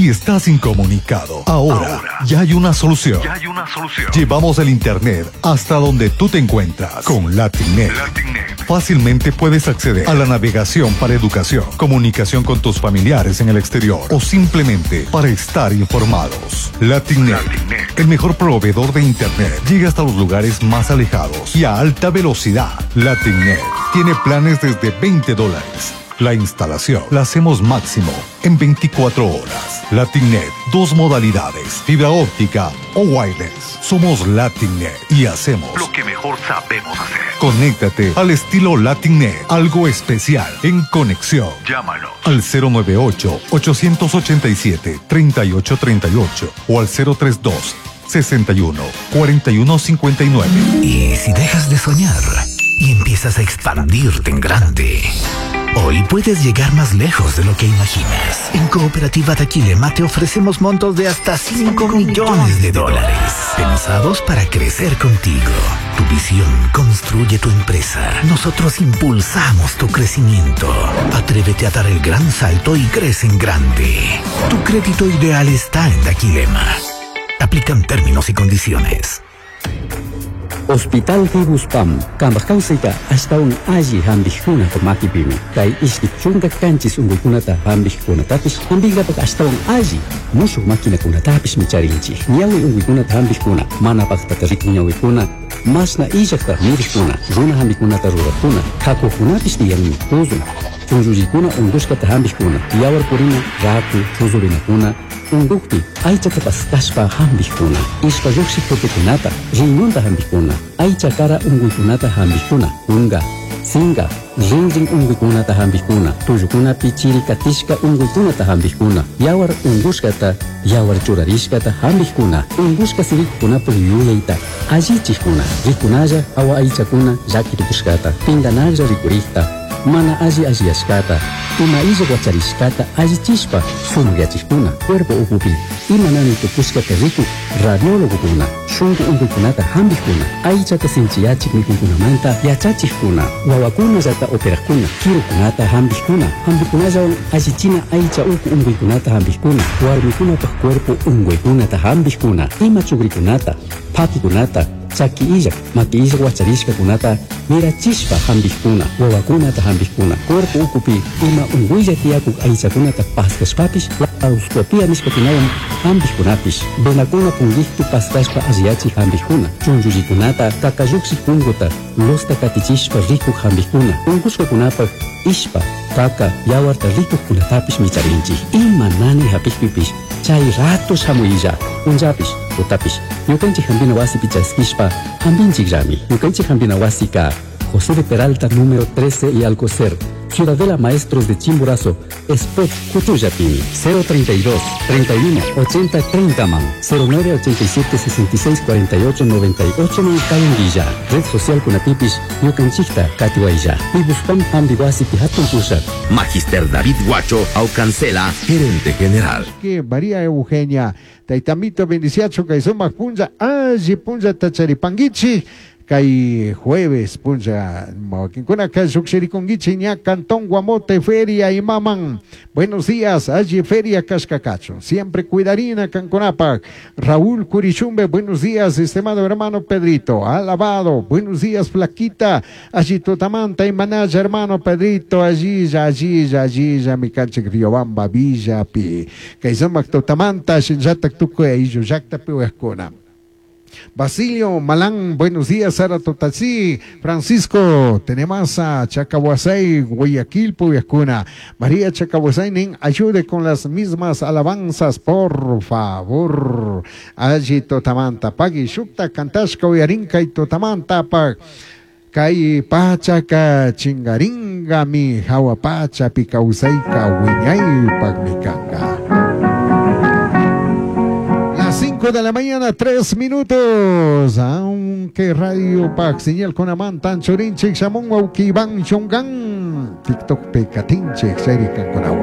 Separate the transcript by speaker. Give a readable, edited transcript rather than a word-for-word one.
Speaker 1: Si estás incomunicado, ahora, ya hay una solución.
Speaker 2: Ya hay una solución.
Speaker 1: Llevamos el internet hasta donde tú te encuentras con LatinNet.
Speaker 2: LatinNet.
Speaker 1: Fácilmente puedes acceder a la navegación para educación, comunicación con tus familiares en el exterior o simplemente para estar informados. LatinNet,
Speaker 2: LatinNet.
Speaker 1: el mejor proveedor de internet, llega hasta los lugares más alejados y a alta velocidad. LatinNet tiene planes desde 20 dólares. La instalación la hacemos máximo en 24 horas. LatinNet, dos modalidades, fibra óptica o wireless. Somos LatinNet y hacemos
Speaker 2: Lo que mejor sabemos hacer.
Speaker 1: Conéctate al estilo LatinNet, algo especial en conexión.
Speaker 2: Llámanos.
Speaker 1: Al 098-887-3838 o al 032 61 41 59.
Speaker 3: Y si dejas de soñar y empiezas a expandirte en grande. Hoy puedes llegar más lejos de lo que imaginas. En Cooperativa Daquilema te ofrecemos montos de hasta 5 millones de dólares. Pensados para crecer contigo. Tu visión construye tu empresa. Nosotros impulsamos tu crecimiento. Atrévete a dar el gran salto y crece en grande. Tu crédito ideal está en Daquilema. Aplican términos y condiciones.
Speaker 4: Hospital Fibuspam, kambaj kawsayta ashtawan alli hampikkunapa makipimi. Kay ishki chunka kanchis unkuykunata hampikkunatapish hampinkapak ashtawan alli mushuk maquinakunatapishmi charinchik. Ñawi unkuykunata hampikkuna, mana paktata rikuk ñawikuna, mashna illakta mirikkuna, runa hampikunata rurakkuna, kakuqkunapish tiyanmi, tuzun, chunllullikuna unkushkata hampikkuna, yawar purina, raku, chuzurinakuna, unkukpi aychata paskashpa hampikkuna, ishpa lluqshik tupikunata, riñonta hampikkuna, aycha kara unkuykunata hampikkuna, kunka, sinka, rinrin unkuykunata hampikkuna, tullukunapi chiri katishka unkuykunata hampikkuna, yawar unkushkata, yawar churarishkata hampikkuna, unkushka sirikukunapuk yuyayta allichikkuna, rikunalla hawa aychakuna llaki tukushkata, pinkanaklla rikurikta, mana alli alliyashkata, ima illak wacharishkata allichishpa sumakyachikkuna, cuerpo ukupi ima nani tukushkata rikuk radiólogokuna, shunku unkuykunata hampikkuna, aychata sinchiyachik mikuykunamanta yachachikkuna, wawakunallata operakkuna, kirukunata hampikkuna, hampikunallawan allichina aycha uku unkuykunata hampikkuna, warmikunapak cuerpo unkuykunata hampikkuna, ima chukrikunata, pakikunata, chaki illak, maki illak wacharishkakunata mirachishpa hampikkuna, wawakunata hampikkuna, cuerpo ukupi ima unkuylla tiyakuk aychakunata paskashpapish laparoscopia nishkakunawan hampikkunapish, venakuna punkikpi paskashpa alliyachik hampikkuna, chunllullikunata, kakalluksik punkuta, losta katichishpa rikuk hampikkuna, unkushkakunapak ishpa, kaka, yawarta rikukkunatapish micharinchik. Ima nani hapikpipish chay rato shamuylla, punllapish, tutapish, ñukanchik hampina wasipi chaskishpa hampinchikllami. Ñukanchik hampina wasika José de Peralta número 13 y Alcocer, Ciudadela Maestros de Chimborazo, Spot Cuchuyapimi, 032 31 80 30 man, 09 87 66 48 98 man Kayunguilla, Red Social Kunatipish, Ñukanchikta Katiwaylla, Pibuspam Hampi Wasipi Hatun Pushak.
Speaker 5: Magister David Guacho Aucancela, gerente general.
Speaker 6: Que María Eugenia, Taitamito bendiciacho kay sumak punlla, alli punlla tacharipanguichi, kay jueves punlla, mawakinkunaka lluqshirikunkichik ña Cantón Guamote Feria imaman. Buenos días, alli feria kashkakacho. Siempre cuidarina kankunapak. Raúl Curichumbe, buenos días, estimado hermano Pedrito. Alabado, buenos días, Flaquita. Allí Totamanta y Manaya, hermano Pedrito. Allí, ya, allí, ya, allí, ya, mi canchik Riobamba, Villa, pi. Kay sumak Totamanta, shinllatak tukuy ayllu llaqtapi uyaqkuna. Basilio Malán, buenos días, Sara Totasí, Francisco Tenemasa, Chacahuasay, Guayaquil, Puyascuna, María Chacahuasay, nin, ayude con las mismas alabanzas, por favor. Allí Totamanta, Pagui, Shukta, Cantashka, Uyarinka y Totamanta, Pag. Kay pachaka chingaringami, hawa pacha pikausayka wiñaypaq mikanga. Las 5 de la mañana, 3 minutos. Aunque Radio Pac, señal con Amantan, Chorinchik, Shamun, Wauki, Iván, Chongan, TikTok, Pecatinchik, Serican con agua.